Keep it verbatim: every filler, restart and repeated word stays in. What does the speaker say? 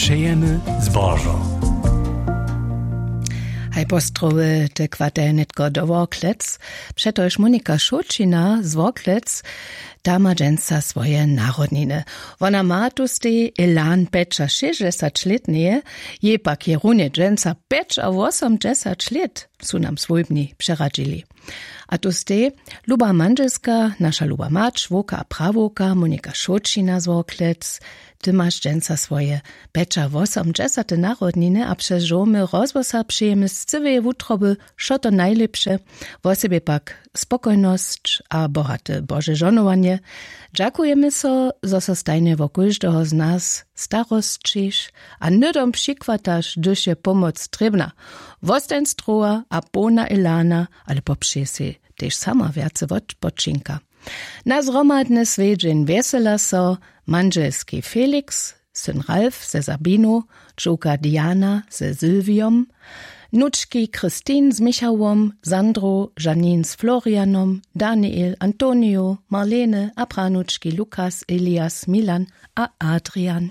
Přejemy zbožo. Haj postrowy te kwartale nětko do Worklec, přetož Monika Šołćina z Worklec ta ma dźensa swoje narodniny. Wona ma tu stej elan pjećašěsćdźesaćlětneje, jej pak je runje dźensa pjećawosomdźesaćlět, su nam swójbni přeradźili. A tu stej luba mandźelska, naša luba mać wowka a prawowka Monika Šołćina z Worklec. Ty maš dźensa swoje pjećawosomdźesate narodniny a přez žołmy rozhłosa přejemy z cyłeje wutroby wšo to najlěpše, wosebje pak spokojnosć a bohate bože žohnowanje. Dźakujemy so, zo so stajnje wo kóždeho z nas starosćiš a hnydom přichwataš, hdyž je pomoc trěbna. Wostań zdrowa a połna elana, ale popřeje sej tež sama wjace wotpočinka. Na zhromadny swjedźeń wjesela so mandźelski Felix, syn Ralf ze Sabinu, dźowka Diana ze Sylwiom, nučki Christine z Michałom, Sandru, Janine z Florianom, Daniel, Antonio, Marlene a pranučki Lukas, Elias, Milan a Adrian.